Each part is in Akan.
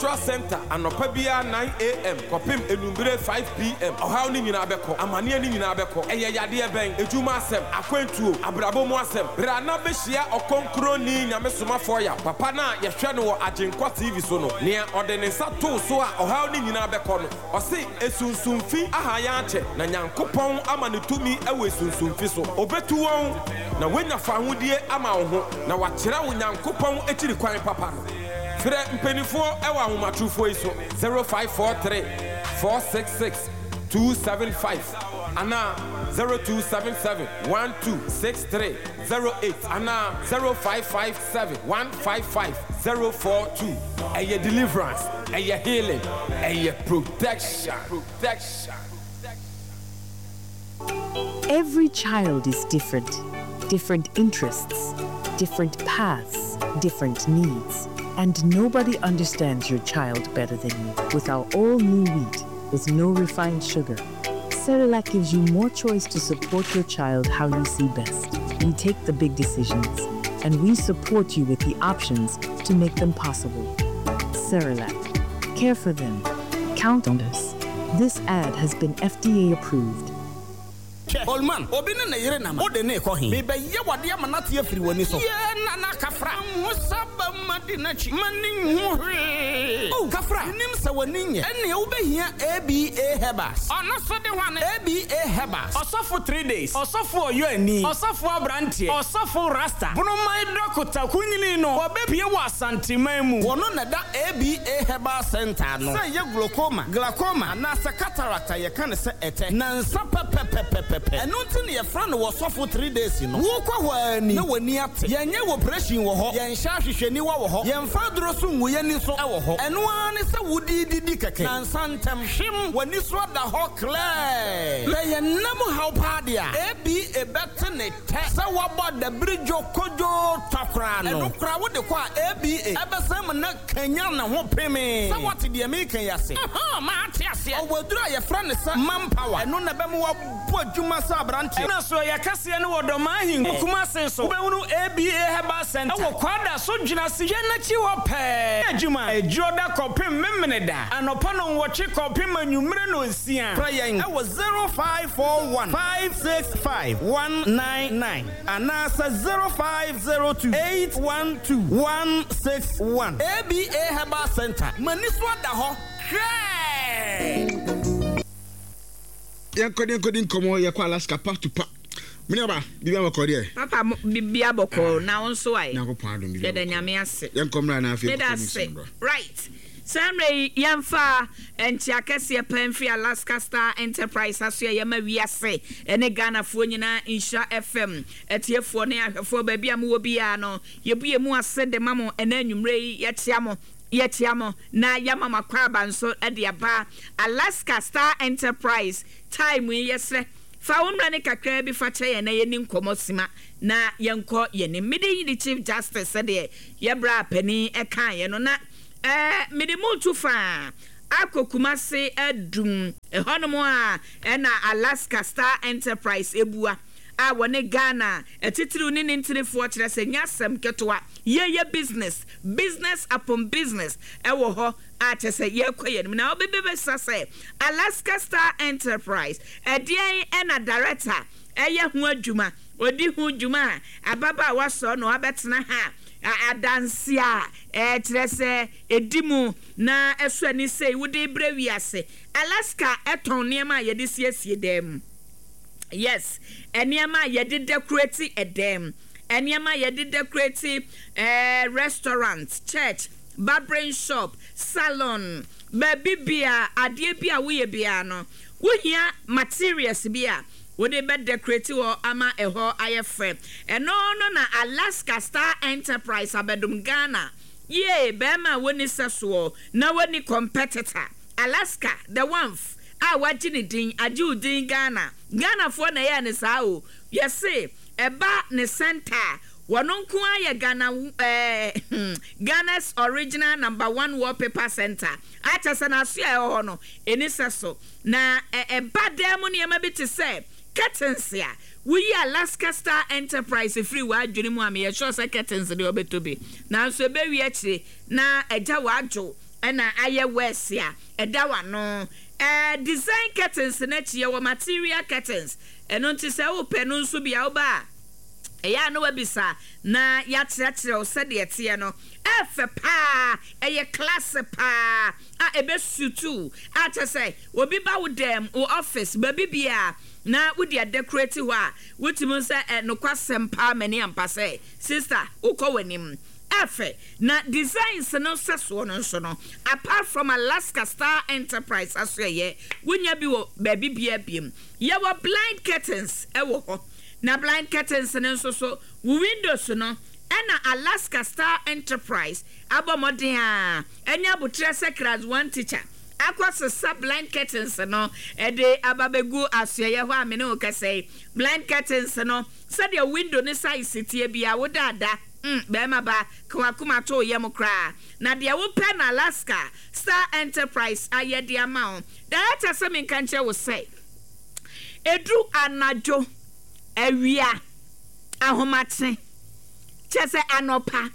Cultural Centre anɔpa biara 9am kɔpem enumbere 5pm. Ɔhaw no nyinaa bɛkɔ. Amaneɛ no nyinaa bɛkɔ. Ɛyɛ yadeɛ bɛn? Edwuma asɛm? Akwantuo? Abrabɔ mu asɛm? Bra na bɛhyia Ɔkronkronni Nyame Somafoɔ Yaw, papa no a yɛhwɛ no wɔ Agyenkwa TV so no. Nea ɔde ne nsa too so a ɔhaw no nyinaa bɛkɔ no. Ɔse esunsumfi aha yɛn akyɛ, na Nyankopɔn ama no tumi wɔ esunsumfi so. Obetu wɔn, na woanya fahodie ama wo ho, na wakyerɛ wo Nyankopɔn akyiri kwan papa no. Frɛ mpaninfoɔ wɔ ahomatorofoɔ yi so, 0543 466 275 anaa 0277 1263 08 anaa 0557 155 042. Ɛyɛ deliverance, ɛyɛ healing, ɛyɛ protection. Protection. Every child is different. Different interests, different paths, different needs. And nobody understands your child better than you. With our all new wheat, with no refined sugar, Cerelac gives you more choice to support your child how you see best. We take the big decisions, and we support you with the options to make them possible. Cerelac. Care for them. Count on us. This ad has been FDA approved. Hwɛ, Holman, obi ne ne yere nam a, wode no rekɔ he? Merebɛyɛ wo adeɛ ama no ate afiri w'ani so. Yee, Nana Kafra, manhu sɛ aba mu madi n'akyi, m'ani nhu hwee. Oh, Kafra, menim sɛ w'ani nyɛ. Ɛnneɛ wobɛhia ABA Herbals. Ɔno nso de hwane? ABA Herbals. Ɔsɔfo Three Days, Ɔsɔfo Ɔyɔani, Ɔsɔfo Abranteɛ, Ɔsɔfo Rasta, Bonoman Dɔkota Kunyini no, wɔbɛpue wɔ Asanteman mu. Wɔno na ɛda ABA Herbal Centre ano. Sɛ ɛyɛ glaucoma, glaucoma, anaasɛ cataract a yɛka no sɛ ɛtɛ. Nansa pɛpɛpɛpɛpɛ. Ɛno nti na yɛfrɛ no Ɔsɔfo Three Days no. Wokɔ hɔ ara ni na w'ani ate. Yɛnyɛ operation wɔ hɔ, yɛnhyɛ ahwehwɛniwa wɔ hɔ, yɛmfa aduro so ngu yɛn ani so wɔ hɔ. Ɛno ara ne sɛ wode redidi kɛkɛ. Nansa ntɛm, hwem, w'ani so ada hɔ klɛɛ. Sɛ yɛn nna mu haw paa deɛ a, ABA bɛte ne tɛ sɛ woabɔ adabiri dwo kodwoo twa koraa no. Ɛno koraa wode kɔ a, ABA ɛbɛsan mu na kanyan ne ho pemee. Sɛ woate deɛ mereka yi ase? Ɛhɔn, mate aseɛ. Ɔwɔ aduro a yɛfrɛ no sɛ manpower. Ɛno na ɛbɛma woabɔ adwuma sɛ aberanteɛ. Ɛna so ɛyɛ kɛseɛ no wɔ Dɔmaa Ahenkuro, Kumase nso, wobɛhunu ABA Herbal Centre wɔ Kwada so Dwenase dwa no akyi hɔ pɛɛ. Adwuma, Adwuoda kɔpem Memeneda, anɔpa nnɔnwɔtwe kɔpem anwummere nnɔnsia. Frɛ yɛn wɔ 0541 565 199 anaasɛ 0502 812 161. ABA Herbal Centre, m'ani so ada hɔ hwɛɛ! Yɛnkɔ de nkɔdi nkɔmmɔ yɛkɔ Alaska pa to pa. Mene aba biribi abɔkɔ deɛ. Papa biribi abɔkɔ na wo nso ayɛ. Nyankopɔn adom biribi abɔkɔ. Yɛda Nyame ase. Yɛnkɔ mmra na afei Meda ase. Right. Saa mmerɛ yi yɛmfa nkyea kɛseɛ paa mfiri Alaska Star Enterprise aso a yɛma wiase ne Ghanafoɔ nyinaa Nhyira FM atiefoɔ ne ahwɛfoɔ baabi a mowɔ biara no yɛbu yɛn mu ase de ma mo ɛnɛ anwummerɛ yi yɛkyea mo yɛkyea mo na yɛama mo akwaaba nso de aba Alaska Star Enterprise time yi yɛsrɛ fa wo mmerɛ no kakraa bi fa kyɛ yɛn na yɛni nkɔmmɔ sima na yɛnkɔ yɛn anim. Mede yi ne Chief Justice sɛdeɛ yɛ bra panin kaeɛ no na ɛɛ mede mo retu fa akɔ Kumase Adum ɛhɔnom a ɛna Alaska Star Enterprise ebua a wɔne Ghana atitiriw ne ne ntinifoɔ kyerɛ sɛ nyɛ asɛm ketewa yɛyɛ business business upon business ɛwɔ hɔ a kyerɛ sɛ yɛrekɔ yɛn anim na wobɛbɛbisa sɛ Alaska Star Enterprise ɛdeɛn ɛna director ɛyɛ ho adwuma ɔdi ho dwuma a ababaawa sɔɔ na wabɛtena ha a adanse a ɛkyerɛ sɛ ɛdi mu na ɛsɔ ani sei wode rebrɛ wiase. Alaska tɔn nneɛma a yɛde siesie dan mu. Yes, nneɛma a yɛde decorate dan mu, nneɛma a yɛde decorate eh, restaurant, church, barbering shop, salon, baabi bia adeɛ bi a woyɛ biara no, wohia materials bi a wode bɛ decorate hɔ ama ɛhɔ ayɛ fɛ. Ɛno no na Alaska Star Enterprise abɛdom Ghana. Yie, bɛrima a wonni sɛsoɔ na wonni competitor. Alaska, the one-f a wagye ne din, agye wo din Ghana. Ghanafoɔ na ɛyɛɛ no saa o. Yɛse ɛba ne centre a, wɔno nko ara yɛ Ghana eh, Ghana's original number one wallpaper centre. A kyerɛ sɛ n'aso a ɛwɔ hɔ no, ɛni sɛso. Na ɛba dan mu nneɛma bi te sɛ curtains a, woyi Alaska Star Enterprise firi w'adwene mu a, meyɛ sure sɛ curtains deɛ wobɛtɔ bi. Nanso ɛbɛwie akyire na agya w'adwo. na ayɛ worse a, ɛda w'ano. Ɛɛ design curtains no akyi yɛwɔ material curtains, ɛno nti sɛ wopɛ no nso bi a woba a, ɛyɛ a na wabisa na yɛakyerɛkyerɛ wo sɛdeɛ ɛteɛ no. Ɛfɛ paa, ɛyɛ class paa a ɛbɛ suit wo a kyerɛ sɛ obi ba wo dan mu, wo office, baabi biara na wode adekorati hɔ a, wotumi hu sɛ ɛ nokwasɛm paa m'ani ampa sɛ sister wokɔ w'anim. Ɛfɛ. Na designs no sɛsoɔ no nso no, apart from Alaska Star Enterprise asoɛeɛ, wonya bi wɔ baabi biara biom. Yɛwɔ blind curtains wɔ hɔ. Na blind curtains no nso so, wo windows no, ɛna Alaska Star Enterprise abɔ mmɔden ara anya aboterɛ sɛ Class One teacher akɔ sesa blind curtains no de aba bɛgu asoɛeɛ hɔ a me ne wo kasa yi. Blind curtains no, sɛdeɛ window no size teɛ biara, woda ada. Mm, barima ba, ka w'akoma to wo yam koraa, na deɛ wopɛ na Alaska Star Enterprise ayɛ de ama wo. Director sɛ menka nkyerɛ wo sɛ, ɛduru anadwo, awia, ahomakye, kyerɛ sɛ anɔpa,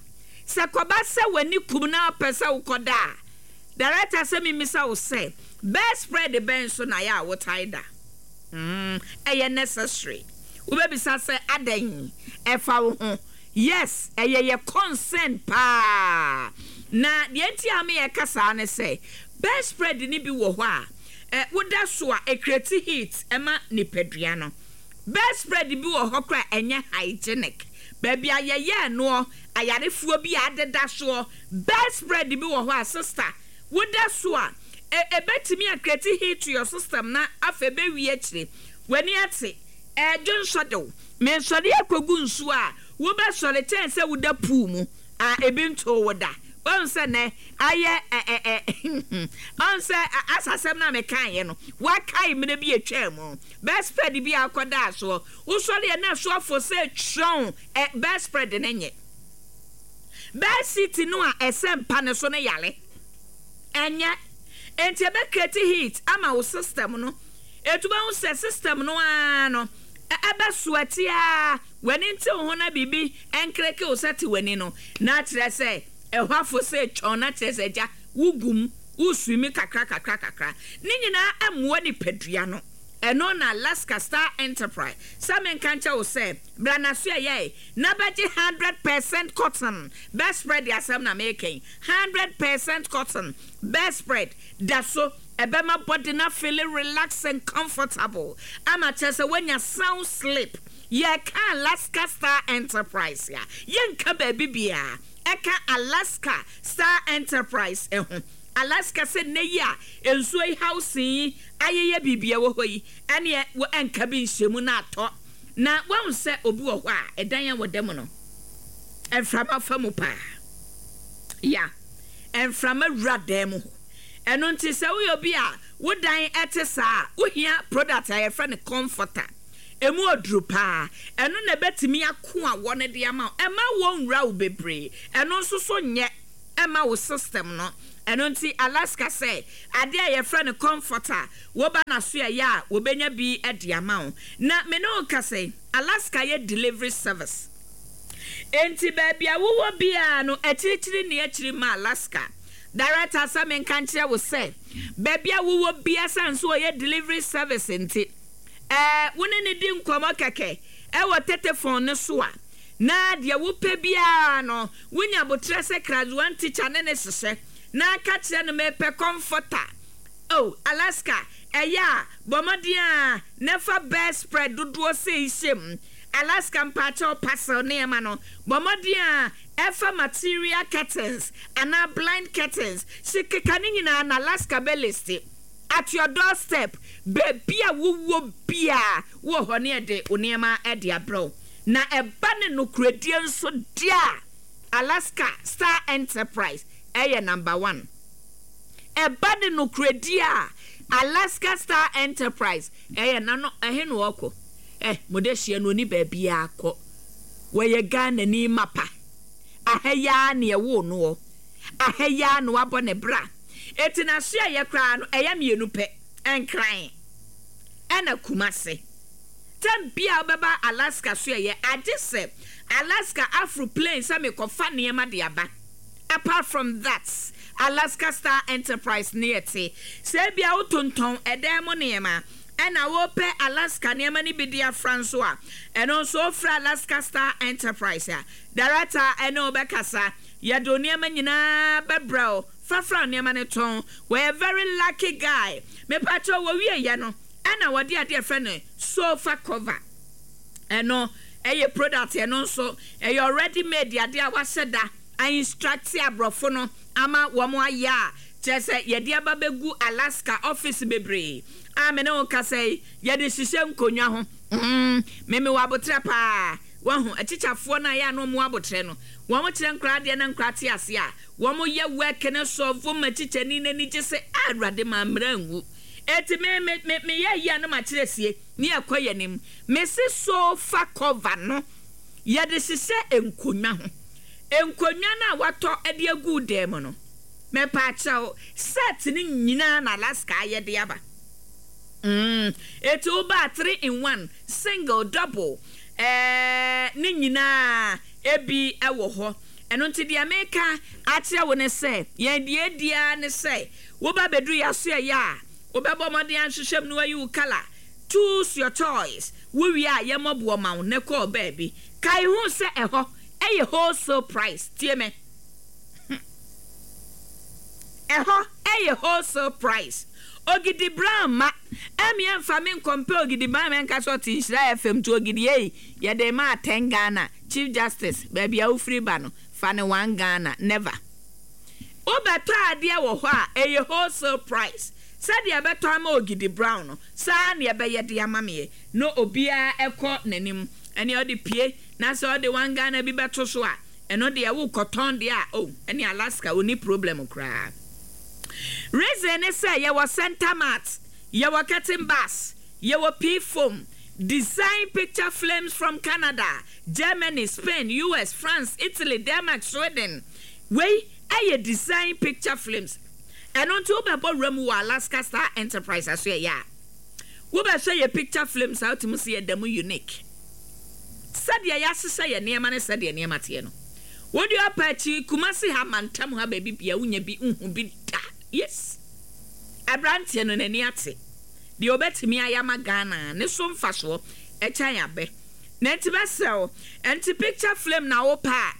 sɛ kɔba sɛ w'ani kum na wopɛ sɛ wokɔda a, Director sɛ memmisa wo sɛ, bedspread bɛn so na ɛyɛ a wotae da? Mm, ɛyɛ necessary. Wobɛbisa sɛ adɛn? Ɛfa wo ho. Yes, ɛyɛ yɛ concern paa. Na deɛ nti a me yɛka saa ne sɛ, bedspread no bi wɔ hɔ a, ɛ, woda so a, ɛcreate heat ma nipadua no. Bedspread bi wɔ hɔ koraa a, ɛnyɛ hygienic. Baabi a yɛyɛɛ noɔ, ayarefoɔ bi a adeda soɔ. Bedspread bi wɔ hɔ a, sister, woda so a, ɛ, ɛbɛtumi a create heat to your system na afei bɛwie akyire, w'ani ate, ɛɛdwo nsɔ de wo. Mensɔre akɔgu nsuo a, wobɛsɔre kyɛn sɛ woda pool mu a ebi ntoo wo da. Woahu sɛ nnɛ ayɛ ɛ ɛ ɛ Woahu sɛ as asɛm no a mekaeɛ no, woakae mmerɛ bi a ɛtwaa mu. Bedspread bi a wokɔdaa soɔ, wosɔreɛ na ɛso afo sɛ twɔn ɛ bedspread no nyɛ. Bedsheet no a ɛsɛ mpa no so no yare. Ɛnyɛ. Enti ɛbɛ create heat ama wo system no. Enti wobɛhu sɛ system no ara no, ɛbɛ sweat ara, w'ani nte wo ho na biribi nkreke wo sɛ te w'ani no, na kyerɛ sɛ ɛhɔ afo sɛ twɔn na kyerɛ sɛ agya wo gu mu, wo swimi kakra kakra kakra. Ne nyinaa mmoa nipadua no. Ɛno na Alaska Star Enterprise sɛ menka nkyɛ wo sɛ bra na so ɛyɛe na bɛgye 100% cotton bedspread asɛm na meka yi, 100% cotton bedspread da so ɛbɛma body no afeele relax and comfortable ama kyerɛ sɛ woanya sound sleep. Yɛreka Alaska Star Enterprise a, yɛnka baabi biara ɛka Alaska Star Enterprise ho. Alaska sɛ nnɛ yi a nsuo yi housing yi ayeyɛ biribi ɛwɔ hɔ yi, ɛneɛ wo ɛnka bi nhyɛ mu na atɔ. Na woahu sɛ obi wɔ hɔ a ɛdan a wɔda mu no mframa fa mu paa. Ya, mframa wura dan mu hɔ. Ɛno nti sɛ woyɛ obi a wo dan te saa a, wohia product a yɛfrɛ no comforter. Ɛmu ɔduru paa. Ɛno na ɛbɛtumi ako awɔ no de ama wo. Ɛmma awɔ nwura wo bebree. Ɛno nso so nyɛ mma wo system no. Ɛno nti Alaska sɛ adeɛ a yɛfrɛ no comforter, woba n'asoɛeɛ a wɔbɛnya bi de ama wo. Na me ne wo kasa yi, Alaska yɛ delivery service. Enti baabi a wowɔ biara no, akyirikyiri nni akyiri mma Alaska. Director sɛ menka nkyerɛ wo sɛ, baabi a wowɔ biara sane sɛ ɔyɛ delivery service nti, ɛɛ, wo ne no di nkɔmmɔ kɛkɛ wɔ tetefon no so a, na deɛ wopɛ biara no, wonya aboterɛ sɛ class one teacher ne no hyehyɛ na ka kyerɛ no mepɛ comforter. Oh, Alaska, ɛyɛ a, bɔ mmɔden ara na fa bedspread dodoɔ sei hyɛ mu. Alaska mpaakyɛw parcel nneɛma no, bɔ mmɔden ara Ɛfa material curtains anaa blind curtains hye keka ne nyinaa na Alaska bɛ liste at your door step baabi a wo wɔ biaa wowɔ hɔ ne yɛde wo nneɛma de abrɛ wo na ɛba ne nokorɛdie nso deɛ a Alaska Star Enterprise ɛyɛ number one ɛba ne nokorɛdie a Alaska Star Enterprise ɛyɛ na no ɛhe na ɔkɔ eh mo de hyeɛ no ɔni baabiaa kɔ. Wɔyɛ Ghanani mapa. Aha yi ara na yɛwoo noɔ. Aha yi ara na wabɔ ne bra. Enti n'asoɛeɛ koraa no, ɛyɛ mmienu pɛ, Nkran ɛna Kumasi. Tɛm biara a wobɛba Alaska soɛeɛ, agye sɛ Alaska aforo plane sɛ mekɔfa nneɛma de aba. Apart from that, Alaska Star Enterprise ne yɛte. Sɛ ebia wotontɔn ɛdan mu nneɛma ɛna wopɛ Alaska nneɛma no bi de afra nso a, ɛno nso wofrɛ Alaska Star Enterprise a, director ɛne wo bɛkasa. Yɛde wo nneɛma nyinaa bɛbrɛ wo. Fa fra wo nneɛma no tɔn. Wɔyɛ very lucky guy. Mepakyɛw wɔwieɛ no ɛna wɔde adeɛ a yɛfrɛ no sofa cover. Ɛno ɛyɛ product ɛno nso ɛyɛ already made adeɛ a wahyɛ da a instruct aborɔfo no ama wɔn ayɛ a kyerɛ sɛ yɛde aba bɛgu Alaska office bebree a me ne wo kasa yi yɛde hyehyɛ nkonnwa ho mm me mewɔ abotrɛ paa wahu akyikyafoɔ no a yɛ a na wɔn wɔ abotrɛ no wɔn kyerɛ nkoraa adeɛ na nkoraa te aseɛ a wɔn yɛ work no sɔfo ma kyikyani no ani gye sɛ ah awurade ma mmara nwu eti me me me meyɛ yi a na makyerɛ sie Ne yɛkɔ yɛn anim. Mese sofa cover no yɛde hyehyɛ nkonnwa ho. Nkonnwa no a watɔ de agu wo dan mu no, mepaakyɛw, set no nyinaa na Alaska ayɛ de aba. Mm, eti woba a three in one, single, double, ɛɛ, ne nyinaa ebi wɔ hɔ. Ɛno nti deɛ meka akyerɛ wo ne sɛ, yɛn deɛ edi ara ne sɛ, woba bɛduru yɛn asoɛeɛ a, Wobɛbɔ mmɔden ahwehwɛ mu na woayi wo colour, choose your choice, wowie a yɛmmɔ boɔ ma wo na kɔ baabi. Kae hu sɛ ɛhɔ yɛ wholesale price, tie me, ɛhɔ yɛ wholesale price. Ogidi Brown mma ɛmmeɛ mfa me nkɔmpɛ Ogidi Brown mɛnka sɛ ɔte Nhyira FM nti Ogidi ei yɛde rema atɛn Ghana, Chief Justice baabi a wofiri ba no fa no one Ghana, never. Wobɛtɔ adeɛ wɔ hɔ a, ɛyɛ wholesale price. Sɛdeɛ ɛbɛtɔ ama Ogidi Brown no, saa ara na ɛbɛyɛ de ama meɛ. Na obiara kɔ n'anim. Ɛnneɛ ɔde pue, na sɛ ɔde one Ghana bi bɛto so a, ɛno deɛ worekɔtɔn deɛ a, oh, ɛnneɛ Alaska, ɔnni problem koraa. Reason ne sɛ, yɛwɔ center mat, yɛwɔ curtain bars, yɛwɔ pea foam, design picture flames from Canada, Germany, Spain, US, France, Italy, Denmark, Sweden. Wei yɛ design picture flames. Ɛno nti wobɛbɔ wura mu wɔ Alaska Star Enterprise asoɛeɛ a, wobɛhwɛ yɛ picture flames a wotumi sɛ yɛda mu unique. Sɛdeɛ yɛahyehyɛ yɛ nneɛma ne sɛdeɛ nneɛma teɛ no, wode ɔpa akyi Kumasi ha mantam ha baabi bia wonya bi nhu bi da. Yes. Aberanteɛ no n'ani ate. Deɛ ɔbɛtumi ayɛ ama Ghana ne so mfasoɔ ɛkyɛn abɛ. Na nti mɛsrɛ wo, nti picture flame na wopɛ a,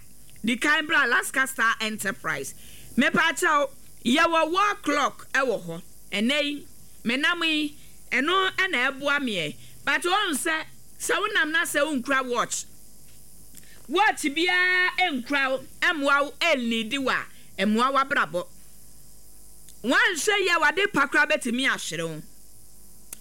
Di kan bra Alaska Star Enterprise. Mepaakyɛw, yɛwɔ wall clock wɔ hɔ. Ɛnnɛ yi, menam yi, ɛno na ɛboa me ɛ. But woahu sɛ, sɛ wonam na sɛ wonkura watch, watch biara nkura wo, ɛmmoa wo, ɛnleadi wo a, ɛmmoa w'abrabɔ. Woanhwɛ yie a, w'ade pa koraa bɛtumi ahwere wo.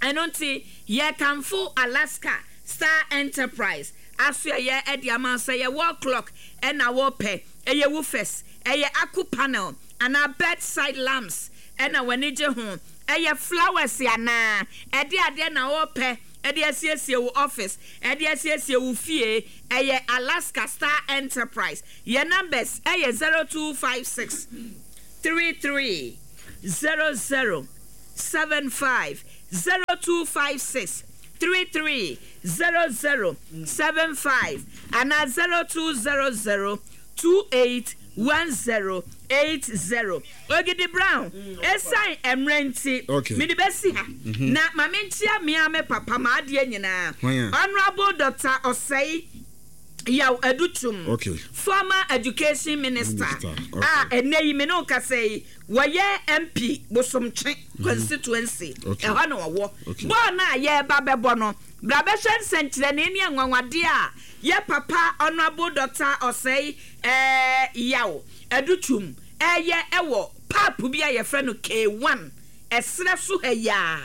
Ɛno nti, yɛkamfo Alaska Star Enterprise. Asoɛeɛ de ama wo sɛ ɛyɛ wall clock na wopɛ, ɛyɛ woofers, ɛyɛ aku panel anaa bedside lamps na w'ani gye ho, ɛyɛ flowers anaa ɛde adeɛ na wopɛ de asiesie wo office, de asiesie wo fie, ɛyɛ Alaska Star Enterprise. Yɛn numbers yɛ 0256 33 00 75, 0256 33 00 75 anaa 0200 28 10 80. Ogidi Brown, Esiane mmerɛ nti, mede bɛsi ha. Na ma menkyea me ara me papa, m'adeɛ nyinaa, Honourable Doctor Osei Yaw Adutwum, former Education Minister a ɛnnɛ yi me ne wo kasa yi, wɔyɛ MP Bosomtwe constituency, ɛhɔ na ɔwɔ. Bɔɔl no a yɛreba bɛbɔ no, bra bɛhwɛ nsɛnkyerɛnee ne anwanwadeɛ a yɛ papa Honourable Doctor Osei Yaw Adutwum reyɛ wɔ pub bi a yɛfrɛ no K1 ɛserɛ so ha yi ara,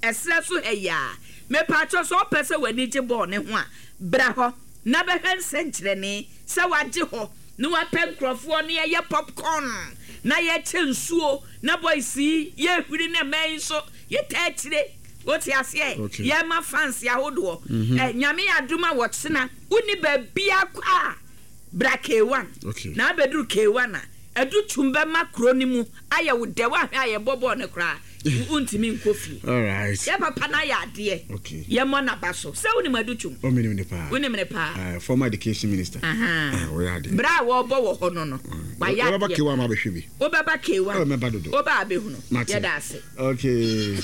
ɛserɛ so ha yi ara. Mepaakyɛw sɛ wopɛ sɛ w'ani gye bɔɔl no ho a, bra hɔ na bɛhwɛ nsɛnkyerɛnee sɛ wagye hɔ na wapɛ nkurɔfoɔ na yɛyɛ popcorn na yɛkyɛ nsuo na boys yi yɛhwiri na mmaa yi nso yɛtaa akyire wote aseɛ Okay. yɛma fans ahodoɔ mm-hmm. eh, nyame yɛ adom a wɔkyena wonni baabia kɔ a bra K1 okay. na abɛduru K1 a ɛdu tum bɛma kuro no mu ayɛ wo dɛ woahwɛ a yɛbɔ bɔɔl no koraa. Wontumi nkɔ fie. Alright. Yɛ papa no ayɛ adeɛ. Okay. Yɛmmɔ n'aba so. Sɛ wonim Adutwum? Oh, menim no paa. Wonim no paa? Former education minister. Ahaa. Ah, ɔyɛ adeɛ. Berɛ a wɔrebɔ wɔ hɔ no no, wayɛ adeɛ. Wobɛba K1 ma abɛhwɛ bi. Wobɛba K1. Oh, mɛba dodo. Woba abɛhunu. Mate. Yɛda ase. Okay.